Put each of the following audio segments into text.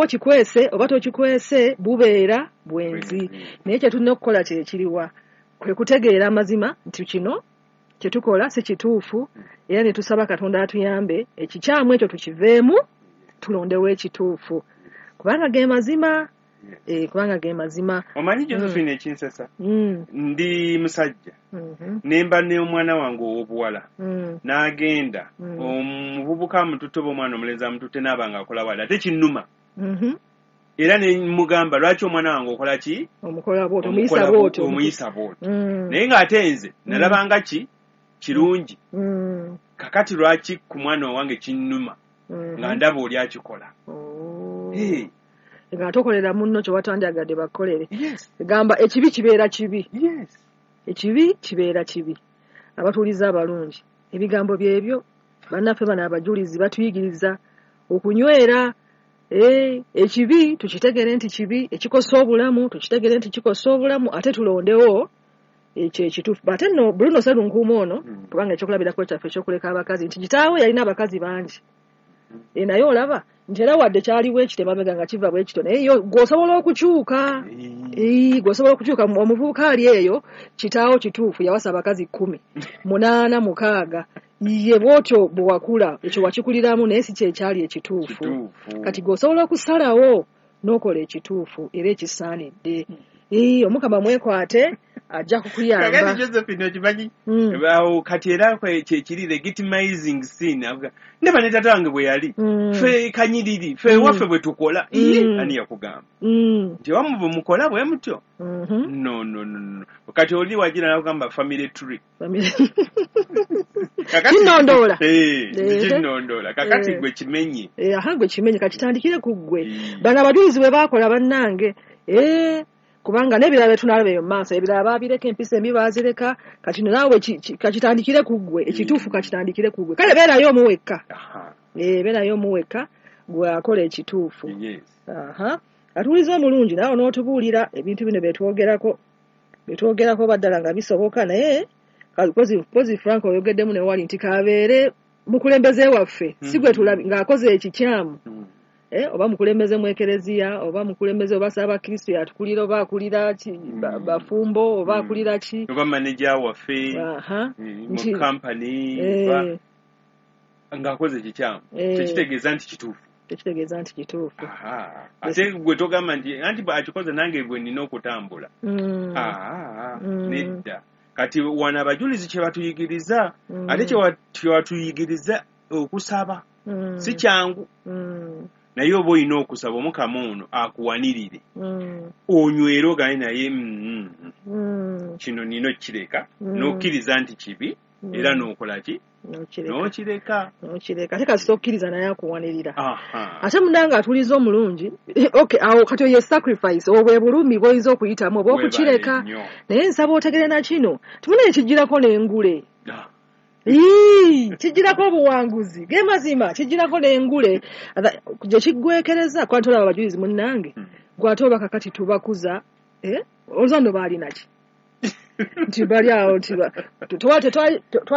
Okikwese oba tokikwese, bubeera bwenzi. Naye kye tulina okukola kye kiriwa? Kwe kutegeera amazima nti kino kye tukola si kituufu, era ne tusaba Katonda atuyambe ekikyamu ekyo tukiveemu, tulondewo ekituufu, kubanga ge mazima. Kubanga ge mazima. Omanyi, Josephine, ekinsesa, ndi musajja, nemba n'omwana wange ow'obuwala, n'agenda omuvubuka amututte oba omwana omulenzi amututte, n'aba nga akola wali, ate kinnuma. Era ne mugamba, "Lwaki omwana wange okola ki?" Omukola bw'otyo, omuyisa bw'otyo. Omuyisa bw'otyo. Naye ng'ate nze nalabanga ki kirungi. Kakati lwaki ku mwana owange kinnuma nga ndaba oli akikola? Oh. Hey, nga tokolera munno kye watandyagadde bakukolere. Gamba ekibi kibeera kibi. Ekibi kibeera kibi. Abatuuliza abalungi, ebigambo byebyo bannaffe bano abajulizi batuyigiriza okunywera. Ekibi tukitegere nti kibi, ekikosa obulamu tukitegere nti kikosa obulamu, ate tulondewo ekyo ekituufu. Ate nno Bruno Serunkuuma ono, kubanga ekyokulabirako kyaffe ekyokuleka abakazi, nti kitaawe yalina abakazi bangi. Naye olaba nti era wadde kyaliwo ekito emabega nga kiva bwe kityo, naye yo gw'osobola okukyuka. Gw'osobola okukyuka. Omuvubuka ali eyo, kitaawo kituufu yawasa abakazi 10, 8, 6, ye bw'otyo bwe wakula, ekyo wakikuliramu, naye si kyekyali ekituufu. Kati gw'osobola okusalawo n'okola ekituufu era ekisaanidde. Omukama mwekwate, ajja kukuyamba. Kakati Josephine, okimanyi, awo kati era kyekiri legitimizing sin. Avuga, ndaba ne tata wange bwe yali, ffe kanyiriri, ffe ewaffe bwe tukola. Iye, ani yakugamba nti ewammwe bwe mukola bwe mutyo? No, no, no, no. Kati oli wagira nakugamba family tree. Kinnondoola. Kinnondoola. Kakati gwe kimenye. Aha, gwe kimenye, kakitandikire ku ggwe. Bano abajulizi bwe baakola, bannange, kubanga n'ebirala bye tunalaba eyo mu maaso, ebirala baabireka, empisa embi baazireka. Kati no naawe kakitandikire ku ggwe, ekituufu kakitandikire ku ggwe. Kale beerayo omuwekka. Beerayo omuwekka, gwe akola ekituufu. Aha, atuwuliza omulungi, naawe n'otubuulira ebintu bino byetwogerako baddala nga bisoboka. Naye kozi Frank oyogeddemu ne wali nti kabeere mukulembeze waffe, si gwe tulabi ng'akoze ekikyamu, oba mukulembeze mu ekereziya, oba mukulembeze, oba ssaabakristo yatukulira, oba akulira ki, bafumbo, oba akulira ki, oba manager waffe mu company, oba ng'akoze ekikyamu, tekitegeeza nti kituufu. Tekitegeeza nti kituufu. Aha. Ate gwe togamba nti anti akikoze, nange bwe nina okutambula. Nedda. Kati wano abajulizi kye batuyigiriza, ate kye batuyigiriza okusaba, si kyangu, naye oba olina okusaba Omukama ono akuwanirire, onywere, ogambe naye, kino nina okukireka," n'okkiriza nti kibi, era n'okola ki? N'okireka. N'okireka. N'okireka. Ate kasita okkiriza, naye akuwanirira. Ate munange atuliza omulungi, okay, awo kati oye sacrifice, obwo bwe bulumi bw'oyinza okuyitamu oba okukireka. Weebale nnyo. Naye nsaba otegere na kino timunaye kijjirako n'engule. Ii, kijjirako obuwanguzi, ge mazima, kijjirako n'engule gye kiggwekereza. Kuba tolaba abajulizi munnange, gwate oba kakati tubakuza, eh? Olowooza nno baalina ki nti bali awo nti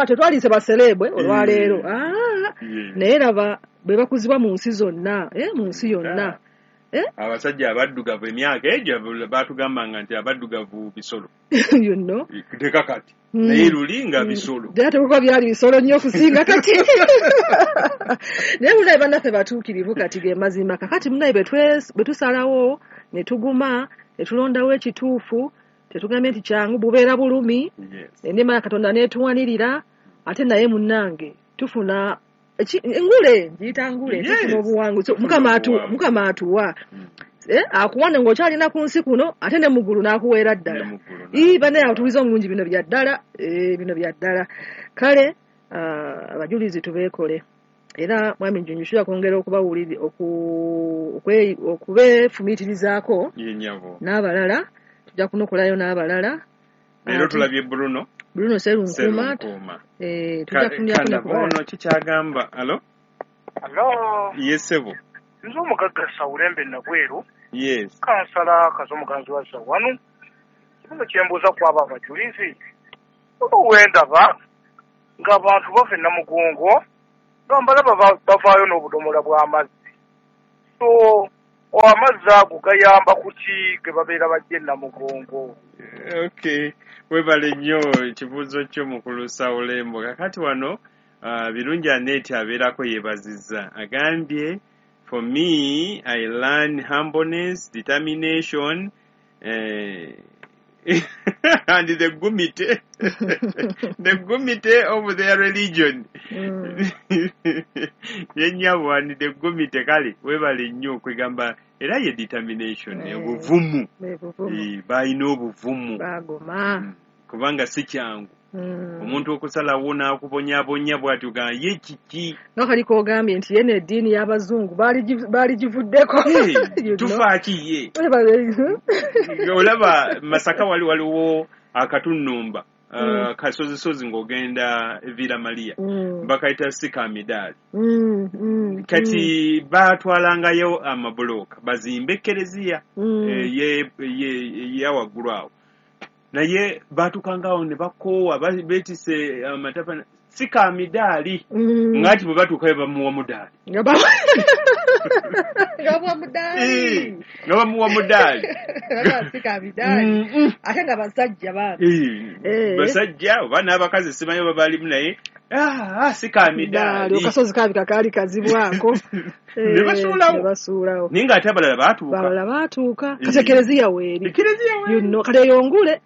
tetwaliise basereebwe olwaleero? Ah, naye laba bwe bakuzibwa mu nsi zonna, mu nsi yonna. Abasajja abaddugavu emyaka egyo batugambanga nti abaddugavu bisolo. You know? Teka kati, naye luli nga bisolo. Ddala tekuba byali bisolo nnyo okusinga kati. Naye munaye bannaffe batuukirivu. Kati ge mazima. Kakati munaye bwe tusalawo ne tuguma ne tulondawo ekituufu, tetugambye nti kyangu, bubeera bulumi, enneema ya Katonda n'etuwanirira. Ate naye munnange tufuna engule, ngiyita ngule. Tufuna obuwanguzi. Tufuna obuwanguzi. Mukama atuwa. Akuwane ng'okyalina ku nsi kuno, ate ne mu ggulu n'akuweera ddala. Ne mu ggulu. Ii, bannaye atuwuliza omulungi, bino bya ddala, bino bya ddala. Kale abajulizi tubeekole. Era mwami Njunju, tujja kwongera okubeefumiitirizaako Ye nnyabo. n'abalala. Tujja kunokolayo n'abalala. Leero tulabye Bruno Bruno Serunkuuma. Serunkuuma. Tujja kufunirako ne Kandaba ku balala. ono kikyagamba alo. Alo. Ye ssebo. Nze omugagga Sawulembe Nabweru, kansala Kazo Muganzi wa Zawanu. Kibuzo kyembuuza ku abo abajulizi, oba wendaba ng'abantu bava e Namugongo nga mbalaba bavaayo n'obudomola bw'amazzi. So Amazzi ago gayamba kuki ge babeera bajja Namugongo? Okay, webale nnyo ekibuuzo kyo mukulu Sawulembo. Kakati wano Birungi Aneti abeerako yeebazizza, agambye, for me I learn humbleness, determination and the gumite the gumite of their religion. Yennyabo and the gumite, kale webale nnyo okwegamba era ye determination, obuvumu, balina obuvumu bagoma, kubanga si kyangu omuntu okusalawo n'akubonyabonya bw'atyo gamba ye kiki. Nga kaliko ogambye nti ye n'eddiini y'abazungu baaligivuddeko. Tufaaki ye olaba Masaka wali waliwo akatunnumba kasozisozi ng'ogenda Villa Maria, bakayita Sikamidaali. Kati baatwalangayo amabulooka bazimbe ekereziya eya waggulu awo, naye baatukangawo ne bakoowa beetise amatapa Sikamidaali, ng'ati bwe batuukayo bamuwa mudaali, nga bamuwa mudaali Sikamidaali, ate nga basajja bambi, basajja oba n'abakazi simanyi oba balimu, naye Sikamidaali akasozi kabika kaali kazibwako ne basuulawo, naye ng'ate abalala baatuuka, kati ekereziya weeri, kati eyongule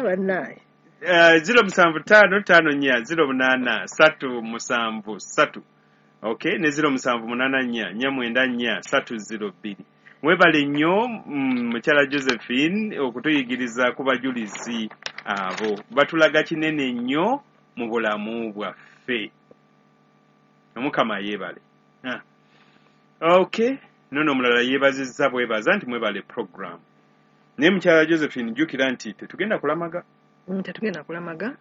bannaye. 075 54 08 373 3. Okay, ne 0784 494 302. Mwebale nnyo mukyala Josephine okutuyigiriza ku bajulizi abo, batulaga kinene nnyo mu bulamu bwaffe. Omukama yeebale. Okay, nono omulala yeebazizza bwebaza nti mwebale program. Naye mukyala Josephine jjukira nti tetugenda kulamaga. Tetugenda kulamaga.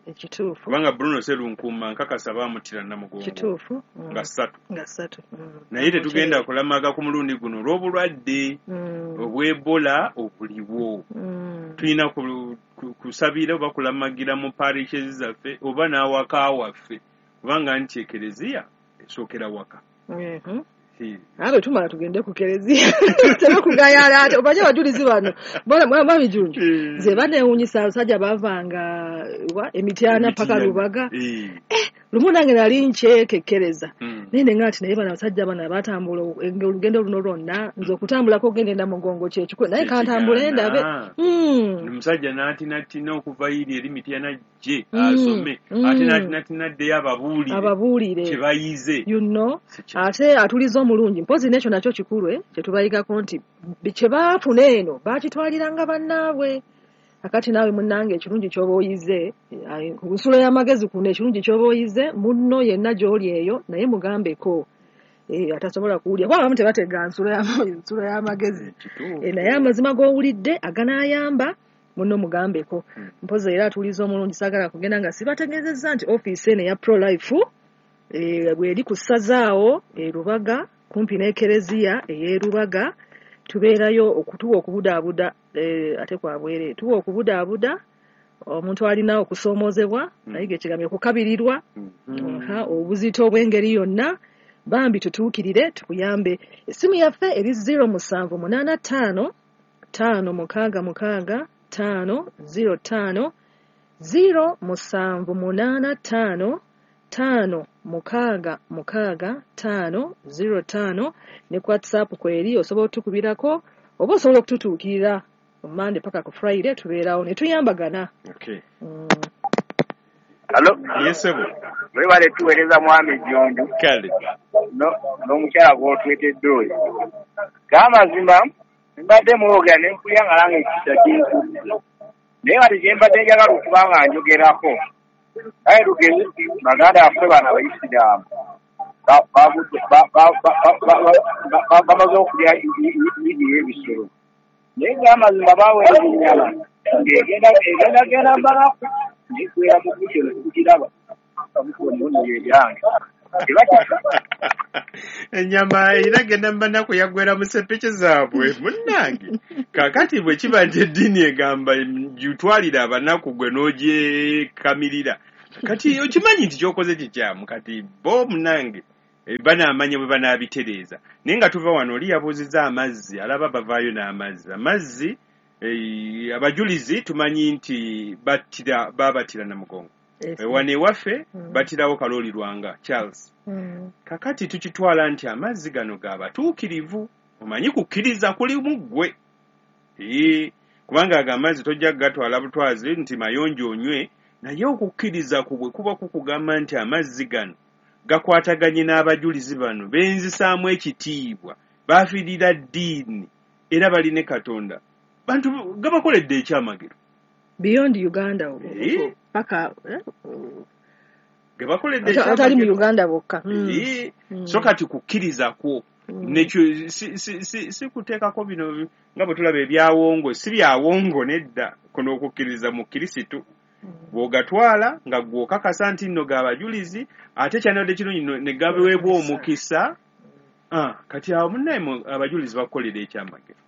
Ekituufu. Kubanga Bruno Serunkuuma nkakasa baamuttira Namugongo. Kituufu. Nga 3. Nga 3. Naye tetugenda kulamaga ku mulundi guno olw'obulwadde obw'Ebola obuliwo. Tulina kusabira oba kulamagira mu parishes zaffe oba n'awaka waffe, kubanga nti ekereziya esookera waka. Abe tumala tugende ku kereziya tebakugayala ate obaje abajulizi bano mwami Junju nze baneewuunyisa abasajja bavanga Emityana paka Lubaga. Lumu nange nali nkyekekereza naye ne ngati naye bano abasajja bano abatambula olugendo luno lwonna, nze okutambulako ogenda Namugongo kyekikulu, naye kantambule ndabe. Omusajja n'atinatina okuva iri eri Mityana gye asome, ate n'atinatina addeyo ababuulire kye bayize, you know, ate atuliza omulungi. Mpozi n'ekyo nakyo kikulu kye tubayigako nti kye baafuna eno baakitwaliranga bannaabwe. Akati naawe munnange ekirungi ky'oba oyize, ku nsulo y'amagezi kuno ekirungi ky'oba oyize munno yenna gy'oli eyo naye mugambeko atasobola kuwulira, kuba abamu tebatega nsulo y'amagezi, naye amazima g'owulidde aganaayamba munno mugambeko. Mpozi era atuliza omulungi, saagala kugenda nga sibategeezezza nti ofiisi eno eya Pro-Life bw'eri ku ssazaawo e Lubaga kumpi n'ekereziya ey'e Lubaga, tubeerayo okutuwa okubudaabuda, ate kwabwere tuwa okubudaabuda omuntu alina okusoomoozebwa, naye ekigambo okukabirirwa obuzito obw'engeri yonna, bambi tutuukirire tukuyambe. Essimu yaffe eri 0785 566 505 0785 5 6 6 5 05 ne ku WhatsApp kweri osobola otukubirako oba osobola okututuukirira ku Monday paka ku Friday, tubeerawo ne tuyambagana. Okay. Hello. Yes sir. Mwebale tuweereza mwami Junju. Kale. N'omukyala gw'otwetedde oyo. G'amazima mbadde mwogera ne mpulira nga nange ekisa kintu. Naye kati kye mbadde njagala okuba nga njogerako, aye tugeze baganda baffe bano Abayisiraamu bamaze okulya idi y'ebisolo, naye ng'amazima baweereza ennyama ng'egenda mbalaku neggwera mu budde nekugiraba ebyange. Ennyama era genda mbanaku yaggwera mu ssepiki zaabwe munnange. Kaakati bwe kiba nti eddiini egamba gitwalire abanaku gwe n'ogyekamirira, kati okimanyi nti ky'okoze kikyamu. Kati bo munnange Banaamanya bwe banaabitereeza. Naye nga tuva wano, oli yabuuzizza amazzi, alaba bavaayo n'amazzi. Amazzi, abajulizi tumanyi nti babatira Namugongo. Wano ewaffe batirawo Kalooli Lwanga Charles. Kakati tukitwala nti amazzi gano g'abatuukirivu, omanyi kukkiriza kuli mu ggwe. Kubanga ago amazzi tojja kugatwala butwazi nti mayonjo onywe, naye okukkiriza kubwe kuba kukugamba nti amazzi gano gakwataganye n'abajulizi bano benzisaamu ekitiibwa, bafiirira ddiini era baline Katonda. Bantu gabakoledde ekyamagero. Beyond Uganda paka gabakoledde ekyamagero. Atali mu Uganda bokka. So kati kukkiriza kwo nekyo si kuteekako bino nga bwe tulaba ebyawongo, si byawongo nedda, kuno okukkiriza mu Kirisitu. Bw'ogatwala nga gw'okakasa nti nno g'abajulizi, ate kyandibadde kirungi ne gaweebwa omukisa. Kati awo munnaye abajulizi bakukolera ekyamagero.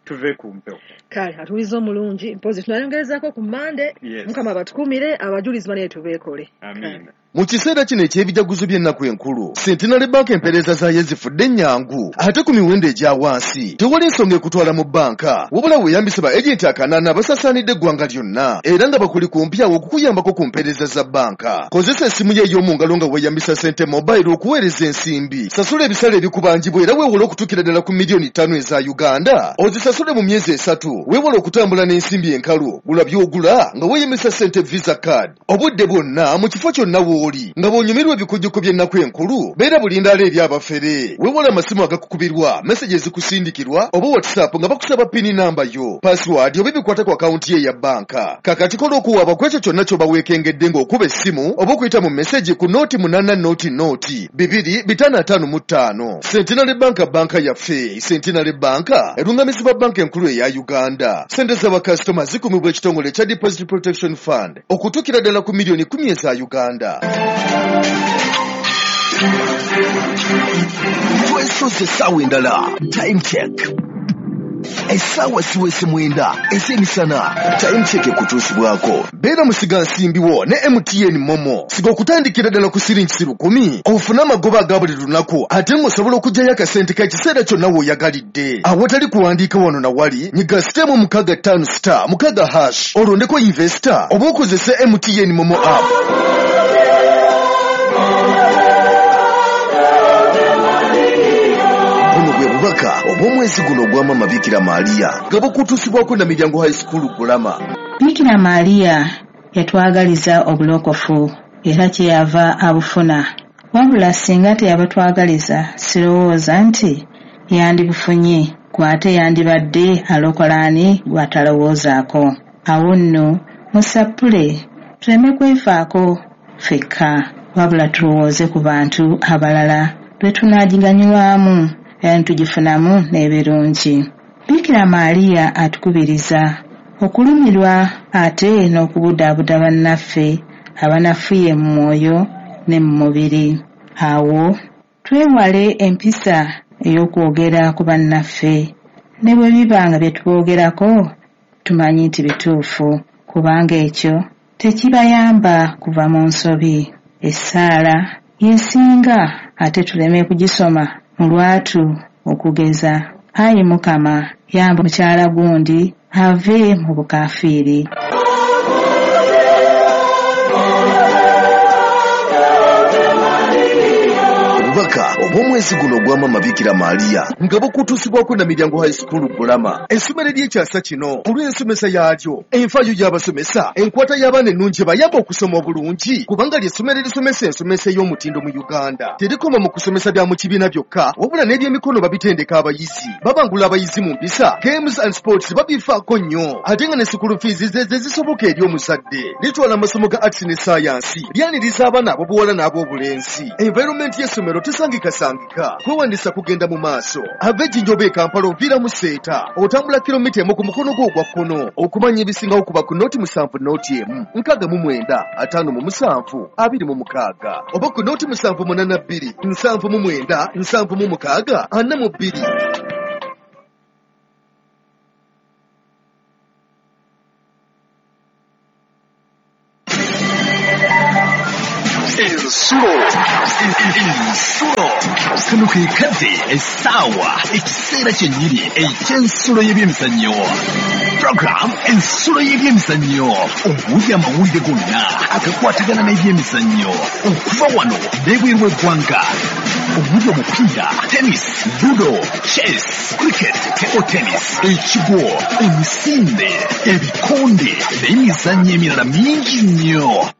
Tuve ku mpewo. Kale atuliza omulungi, mpozi tunayongerezaako ku Mmande. Mukama batukuumire, abajulizi bane tubeekole. Amiina. Mu kiseera kino eky'ebijaguzo by'ennaku enkulu, Centenary Bank empeereza zaayo zifudde ennyangu ate ku miwendo egya wansi. Tewali nsonga ekutwala mu bbanka, wabula weeyambise ba agenti akanaana abasaasaanidde eggwanga lyonna era nga bakuli kumpi awo okukuyambako ku mpeereza za bbanka. Kozesa essimu yo ey'omu ngalo nga weeyambisa Sente Mobile okuweereza ensimbi. Sasula ebisale ebikubanjibwa era weewole okutuukira ddala ku 5 miliyoni eza Uganda. Ozisasule mu myezi 3. Weewale okutambula n'ensimbi enkalu. Gula by'ogula nga weeyambisa Sente Visa Card. Obudde bwonna mu kifo kyonna w'oli nga bw'onyumirwa ebikujjuko by'ennaku enkulu, beera bulindaala eri abafere. Weewale amasimu agakukubirwa, message ezikusindikirwa oba WhatsApp nga bakusaba PIN namba yo, password oba ebikwata ku akawunti ye eya bbanka. Kakati kola okuwaaba ku ekyo kyonna ky'oba weekengedde ng'okuba essimu oba okuyita mu message ku 0800 255. Centenary Bank, banka yaffe. Centenary Bank erungamizibwa Banka Enkulu eya Uganda. Sente z'abakasitoma zikumibwa ekitongole ekya Deposit Protection Fund okutuukira ddala ku 10 miliyoni eza Uganda. Twesoze essaawa endala. Time Check, essaawa ziweze 9 ez'emisana. Time Check ekutuusibwako Beera musigansimbi wo ne MTN MoMo. Siga okutandikira ddala ku siringi 1,000 ofune amagoba aga buli lunaku, ate ng'osobola okuggyayo akasente k'ekiseera kyonna w'oyagalidde awatali kuwandiika wano na wali. Nyiga *165*6# olondeko invest oba okozese MTN MoMo app. Buno bwe bubaka obw'omwezi guno ogwa Mama Bikira Maaliya nga bukutuusibwako na Miryango High School Bulama. Bikira Maaliya yatwagaliza obulokofu era kyeyava abufuna. Wabula singa teyabatwagaliza, sirowooza nti yandibufunye, gw'ate yandibadde alokola ani gw'atalowoozaako. Awo nno musappule tuleme kwefaako ffekka, wabula tulowooze ku bantu abalala lwe tunaagiganyulwamu era ne tugifunamu n'ebirungi. Bikira Maaliya atukubiriza okulumirwa ate n'okubudaabuda bannaffe abanafuye mu mwoyo ne mu mubiri. Awo twewale empisa ey'okwogera ku bannaffe ne bwe biba nga bye tuboogerako tumanyi nti bituufu, kubanga ekyo tekibayamba kuva mu nsobi. Essaala y'esinga ate tuleme kugisoma mu lwatu, okugeza, "Ayi Mukama, yamba mukyala gundi ave mu bukaafiiri." Obubaka obw'omwezi guno ogwa Mama Bikira Maaliya nga bukutuusibwako na Miryango High School Bulama, essomero ery'ekyasa kino olw'ensomesa yaalyo, enfaayo y'abasomesa, enkwata y'abaana ennungi bayamba okusoma obulungi, kubanga ly'essomero erisomesa ensomesa ey'omutindo mu Uganda. Terikoma mu kusomesa bya mu kibiina byokka, wabula n'ebyemikono babitendeka abayizi, babangula abayizi mu mpisa, games and sports babifaako nnyo, ate nga ne school fees ze ze zisoboka eri omuzadde. Litwala amasomo ga arts ne sayansi, lyaniriza abaana ab'obuwala n'ab'obulenzi. Environment y'essomero tesangikasangika. Kwewandisa kugenda mu maaso. Ava Ejjinja oba e Kampala, oviiramu Seeta, otambula 1 kilomita ku mukono gwo ogwa kkono. Okumanya ebisingawo kuba ku 070 01 69 57 26 oba ku 0782 79 76 42. Ensulo. Ensulo. Kano ke kadde, essaawa, ekiseera kyennyini eky'ensulo y'ebyemizannyo. Program Ensulo y'ebyemizannyo omuli amawulire gonna agakwatagana n'ebyemizannyo okuva wano n'ebweru w'eggwanga, omuli omupiira, tennis, ludo, chess, cricket, table tennis, ekigwo, emisinde, ebikonde n'emizannyo emirala mingi nnyo.